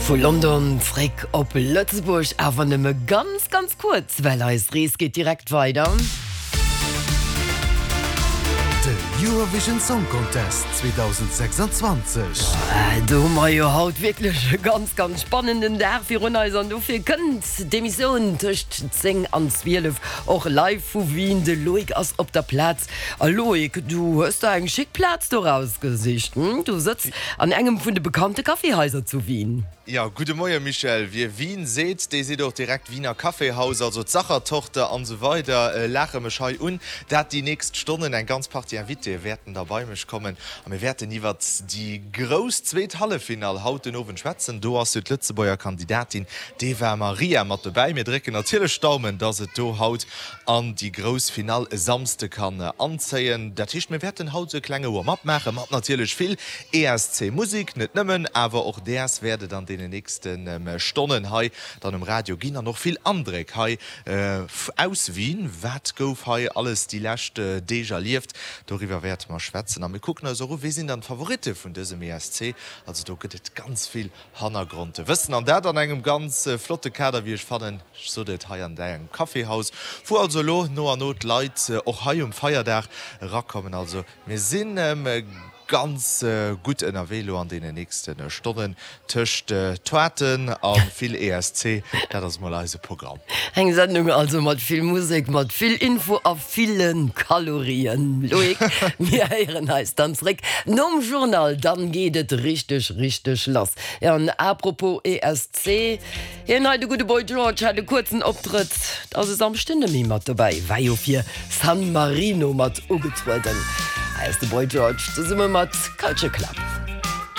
Vu London zréck op Lëtzebuerg, awer nëmme ganz, ganz kuerz, well eis Rees geet direkt weider. De Eurovision Song Contest 2026. Do hu mer jo haut wierklech e ganz, ganz spannenden Dag virun eis an dofir kënnt d'Emissioun tëscht 10 an 12 och live vu Wien. De Loïc ass op der Plaz. A Loïc, du hues der eng schick Plaz do rausgesicht, hm? Du sëtz an engem vun de bekannte Kaffeehaiser zu Wien. Jo, gudde Moie Michèle. Wie Wien seet, dee seet och direkt Wiener Kaffeehaus, also d'Sachertorte an esou weider laache mech hei un. Dat déi nächst Stonnen eng ganz Partie Invitéë wäerten da bei mech kommen a mir wäerten iwwert déi grouss zweet Halleffinall haut den Owend schwätzen. Do ass jo d'Lëtzebuerger Kandidatin d'Eva Marija mat dobäi. Mir drécken natierlech d'Daumen, dass et do haut an déi grouss Finall e Samsde kann anzéien. Dat heescht, mir wäerten haut esou e klenge Warm-up maachen, mat natierlech vill ESC-Musek, net nëmmen, awer och däers wäert et an deenen nächste Stonnen hei dann um Radio ginn an och vill Andréck hei aus Wien. Wat gouf hei alles déi lescht Deeg erlieft, doriwwer wäerte mer schwätzen a mir kucken eis och u, wie sinn dann d'Favoritte vun dësem ESC. Also do gëtt et ganz vill Hannergrondwëssen an dat an engem ganz flotte Kader, wéi ech fannen. Ech sot et, hei an engem Caféhaus, wou also elo no an no d'Leit och hei um Feierdag erakommen. Also mir si ganz gutt ënnerwee elo an deenen nächste Stonnen tëscht Toaten a vill ESC. Dat ass mol eise Programm. Eng Sendung also mat vill Musek, mat vill Info a ville Kalorien. Loïc, mir héieren eis dann zréck nom Journal, dann geet et richteg, richteg lass. Jo, an apropos ESC, hien hei, de gudde Boy George, hat e kuerzen Optrëtt, ass e Samschden net méi mat dobäi, war jo fir San Marino mat ugetrueden. Hei ass de Boy George zesumme mat Culture Club.